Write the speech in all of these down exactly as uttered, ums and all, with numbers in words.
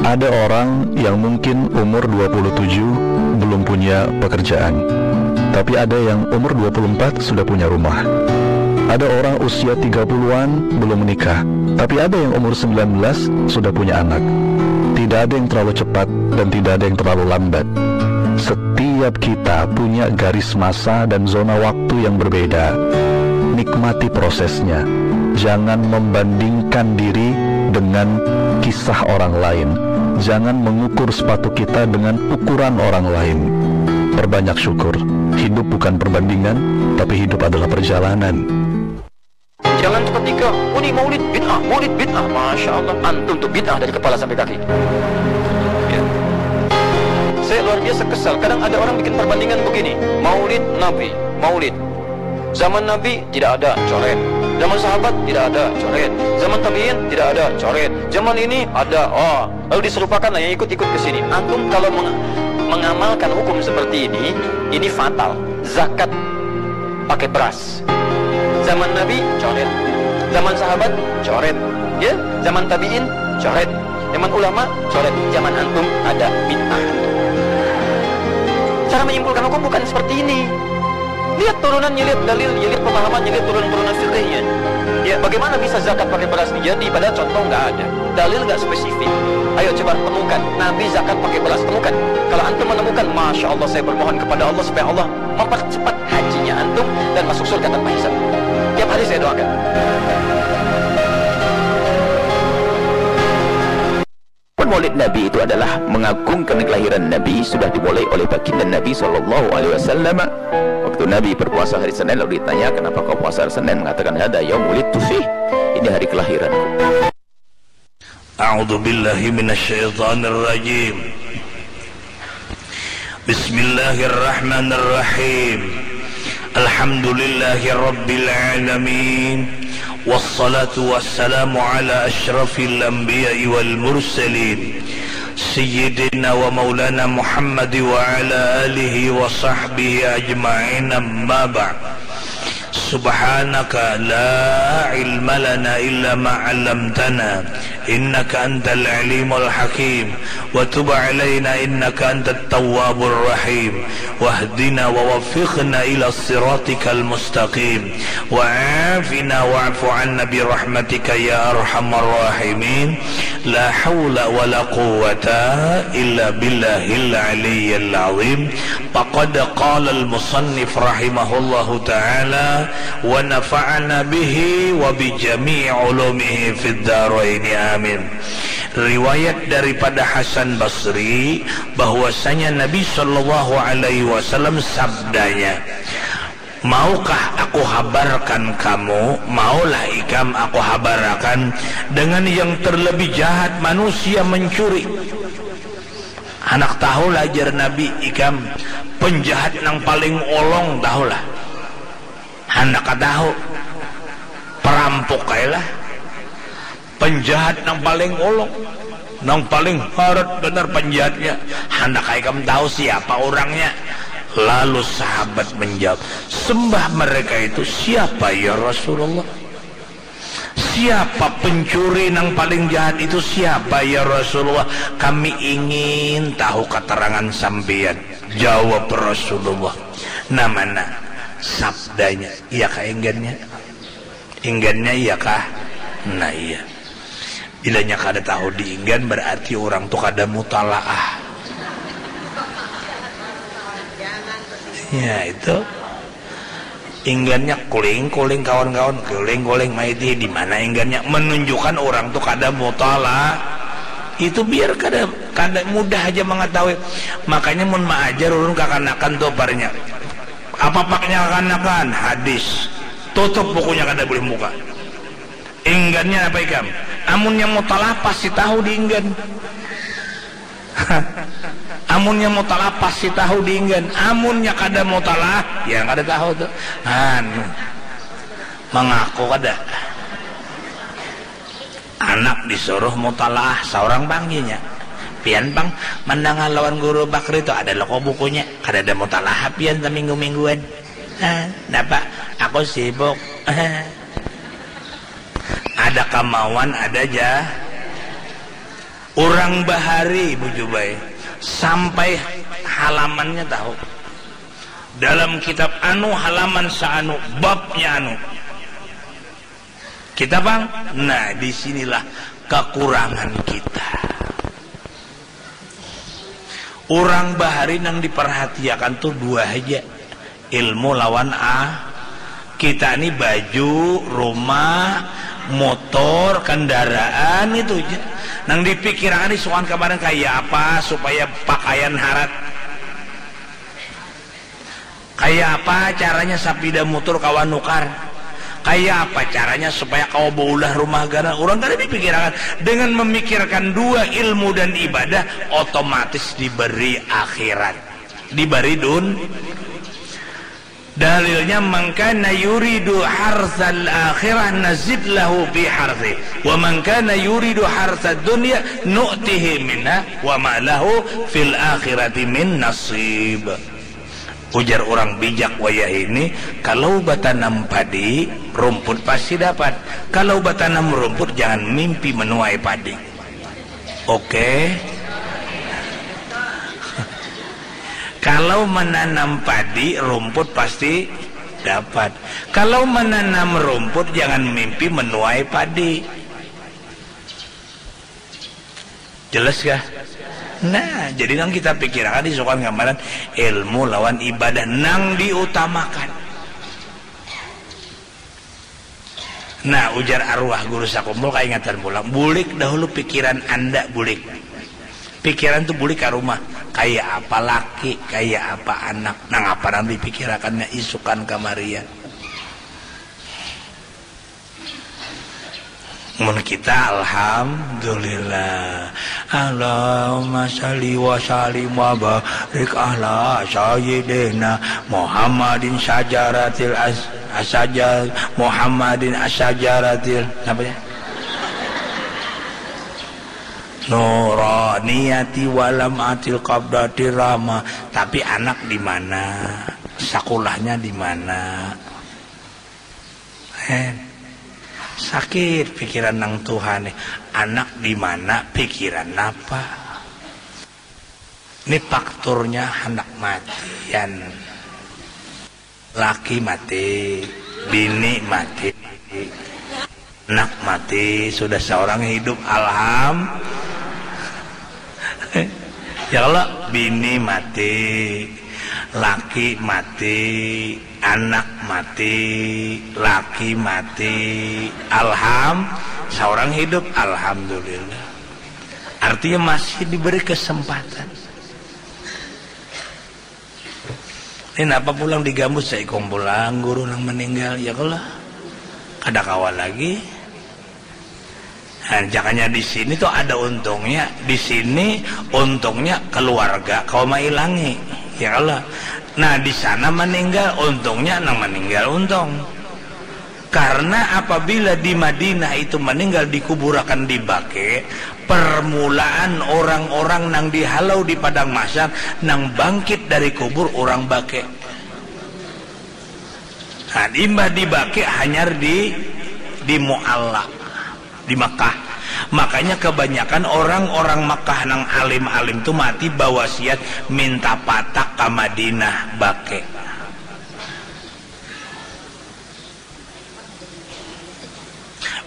Ada orang yang mungkin umur dua puluh tujuh belum punya pekerjaan, tapi ada yang umur dua puluh empat sudah punya rumah. Ada orang usia tiga puluhan belum menikah, tapi ada yang umur sembilan belas sudah punya anak. Tidak ada yang terlalu cepat dan tidak ada yang terlalu lambat. Setiap kita punya garis masa dan zona waktu yang berbeda. Nikmati prosesnya. Jangan membandingkan diri dengan kisah orang lain. Jangan mengukur sepatu kita dengan ukuran orang lain. Perbanyak syukur. Hidup bukan perbandingan, tapi hidup adalah perjalanan. Jangan ketika, oh, ini maulid bid'ah, maulid bid'ah. Masya Allah, antum tuh bid'ah dari kepala sampai kaki. Ya. Saya luar biasa kesal. Kadang ada orang bikin perbandingan begini. Maulid Nabi, maulid. Zaman Nabi tidak ada, coret. Zaman sahabat tidak ada, coret. Zaman tabi'in tidak ada, coret. Zaman ini ada, oh. Lalu diserupakan lah yang ikut-ikut ke sini. Antum kalau meng- mengamalkan hukum seperti ini, ini fatal. Zakat pakai beras. Zaman Nabi, coret. Zaman sahabat, coret. Ya, zaman tabi'in, coret. Zaman ulama, coret. Zaman antum, ada bid'ah. Cara menyimpulkan hukum bukan seperti ini. Lihat turunannya, lihat dalilnya, lihat pemahamannya, lihat turunan-turunan fikihnya. Ya, bagaimana bisa zakat pakai beras nih? Jadi, padahal contoh nggak ada. Dalil nggak spesifik. Ayo coba temukan. Nabi zakat pakai beras, temukan. Kalau antum menemukan, Masya Allah, saya bermohon kepada Allah supaya Allah mempercepat hajinya antum dan masuk surga tanpa hisab. Tiap hari saya doakan. Pun maulid Nabi itu adalah mengagungkan kelahiran Nabi, sudah dimulai oleh baginda Nabi sallallahu alaihi wasallam. Waktu Nabi berpuasa hari Senin, lalu ditanya, "Kenapa kau puasa hari Senin?" Mengatakan, "Hada yaumulidtu fih, ini hari kelahiranku." A'udzu billahi minasyaitonir rajim. Bismillahirrahmanirrahim. Alhamdulillahi rabbil alamin. Wassalatu wassalamu ala asyrafil anbiya'i wal mursalin. Sayyidina wa maulana Muhammad wa ala alihi wa sahbihi ajma'in, amma ba'd. Subhanaka la ilma lana illa ma 'allamtana, innaka antal alimul hakim, wa tub alaina innaka antat tawwabur rahim, wahdina wa waffiqna ila siratikal mustaqim, wa afina wa'fu anna bi rahmatika ya arhamar rahimin, la haula wa la quwwata illa billahil aliyyil azim. Faqad qala al-musannif rahimahullahu ta'ala, wa nafa'ana bihi wa bi jami'i ulumihi fid daraini, amin. Riwayat daripada Hasan Basri bahwasanya Nabi sallallahu alaihi wasallam sabdanya, "Maukah aku habarkan kamu, maulah ikam aku habarakan dengan yang terlebih jahat manusia mencuri?" Handak tahu lah, jar Nabi, ikam penjahat nang paling olong, tahu lah. Handak katahu, perampuk ai lah. Penjahat nang paling olong, nang paling harat banar penjahatnya. Handak ai ikam tahu siapa urangnya? Lalu sahabat menjawab, sembah mereka itu, siapa ya Rasulullah? Siapa pencuri nang paling jahat itu? Siapa ya Rasulullah? Kami ingin tahu keterangan sampiyan. Jawab Rasulullah, nah mana sabdanya? Iya kah inggannya? Inggannya iya kah? Nah iya. Bilanya kada tahu diinggan, berarti orang tu kada mutalaah. Ya itu. Inggannya kuling-kuling kawan-kawan, kuling-kuling maiti. Di mana inggannya? Menunjukkan orang tu kada mutala. Itu biar kada, kada mudah aja mengetahui. Makanya mun maajar ulun kakanakan tu parnya. Apa paknya kakanakan? Hadis. Tutup bukunya, kada boleh buka. Inggannya apa ikam? Amunnya mutala pasti tahu diinggan. Amunnya mutala pasti tahu diinggan. Amunnya kada mutala, ya kada tahu tu. Anu, mengaku kada. Anak disuruh mutala seorang panggilnya. Pian pang mendengar lawan guru Bakri tu ada loko bukunya. Kada ada mutala pian seminggu-mingguan. Ah, napa? Aku sibuk. Ada kemauan, ada ja. Urang bahari, Bu Jubai, sampai halamannya tahu. Dalam kitab anu, halaman saanu, babnya anu. Kita pang, nah, di sinilah kekurangan kita. Urang bahari nang diperhatiakan tuh dua haja. Ilmu lawan a kita ni baju, rumah, motor, kendaraan itu ja. Nang dipikirakan isukan kemarin kaya apa supaya pakaian harat. Kaya apa caranya sapida mutur kawa nukar. Kaya apa caranya supaya kawa baulah rumah ganan. Urang kada dipikirakan. Dengan memikirkan dua ilmu dan ibadah, otomatis diberi akhirat. Diberi dun. Dalilnya, "Man kana yuridu harsal akhirah nazid lahu fi harsi, wa man kana yuridu harsad dunya nu'tihi minha wa ma lahu fil akhirati min nasib." Ujar orang bijak wayah ini, kalau batanam padi, rumput pasti dapat. Kalau batanam rumput, jangan mimpi menuai padi. Oke. Kalau menanam padi, rumput pasti dapat. Kalau menanam rumput, jangan mimpi menuai padi. Jelas kah? Nah, jadi nang kita pikirakan isukan gambaran ilmu lawan ibadah nang diutamakan. Nah, ujar arwah guru sakumpul kaingatan pulang, bulik dahulu pikiran anda, bulik. Pikiran tu bulik ka rumah, kaya apa laki, kaya apa anak, nang apa nang dipikirakannya isukan kamarian. Mun kita, alhamdulillah. Allahumma salli wa sallim wa barik ala sayyidina Muhammadin syajaratil as-, asajal Muhammadin asajaratil, apa ya? Nuraniyati walam atil qabdati rahma. Tapi anak di mana? Sakulahnya di mana? Hen. Sakit pikiran nang tuha nih. Anak di mana, pikiran napa? Ini fakturnya handak matian. Laki mati, bini mati, anak mati, sudah seorang hidup, alham. Ya Allah, bini mati, laki mati, anak mati, laki mati. Alham, seorang hidup, alhamdulillah. Artinya masih diberi kesempatan. Ini napa pulang digambus saikung pulang guru nang meninggal, ya kalo lah. Kada kawa lagi. Nah, jakanya di sini tuh ada untungnya, di sini untungnya keluarga kawa mailangi, ya kalo. Nah, di sana meninggal, untungnya nang meninggal untung. Karena apabila di Madinah itu meninggal dikuburakan di Baqi, permulaan orang-orang nang dihalau di padang mahsyar nang bangkit dari kubur orang Baqi. Nah, imbah di Baqi hanyar di di Mu'alla, di Makkah. Makanya kebanyakan orang-orang Makkah nang alim-alim tu mati bawasiat minta patak ka Madinah, Baqi.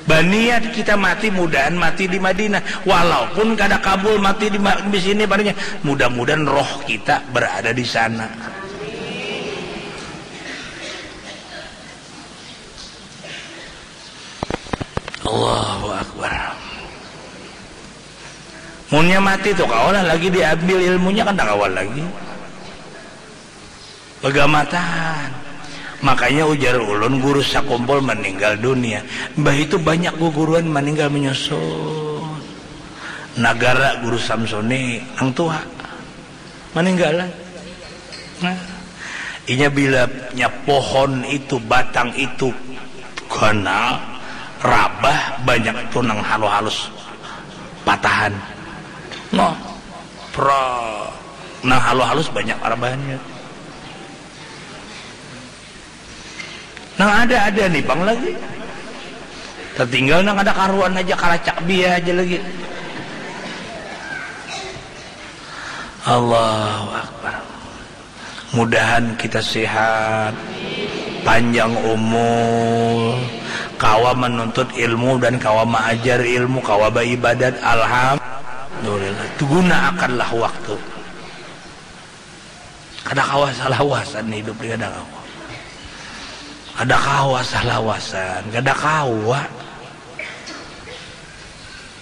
Baniat kita mati, mudahan mati di Madinah. Walaupun kada kabul mati di ma-, di sini, padanya mudah-mudahan roh kita berada di sana. Allahu Akbar. Munnya mati tu kawalah lagi diambil ilmunya, kan tak kawal lagi. Begamatan. Makanya ujar ulun, guru sakumpul meninggal dunia. Mbah itu banyak guguruan meninggal menyusul. Nagara guru Samsuni nang tua meninggalan. Nah, inya bila nya pohon itu, batang itu ganal, rabah, banyak tu nang halus-halus patahan. Nah, pra, nang halus-halus banyak rabahannya. Nang ada-ada ni pang lagi. Tertinggal nang ada karuan aja, karacak bia aja lagi. Allahu Akbar. Mudahan kita sehat, panjang umur, kawa menuntut ilmu dan kawa maajar ilmu, kawa baibadat. Alhamdulillah. Gunakanlah waktu. Kada kawa salawasan hidup ni, kada kawa. Kada kawa salawasan, kada kawa.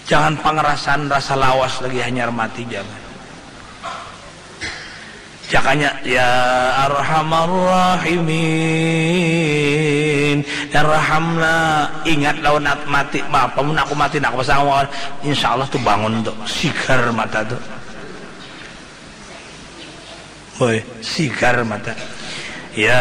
Jangan pangerasan rasa lawas lagi hanyar mati, jangan. Jakanya, ya arhamar rahimin, irhamna, ingat lawan at-, mati, apa mun aku mati, nah, aku pasang awal, insya Allah tu bangun tu, sigar mata tu. Boy, sigar mata. Ya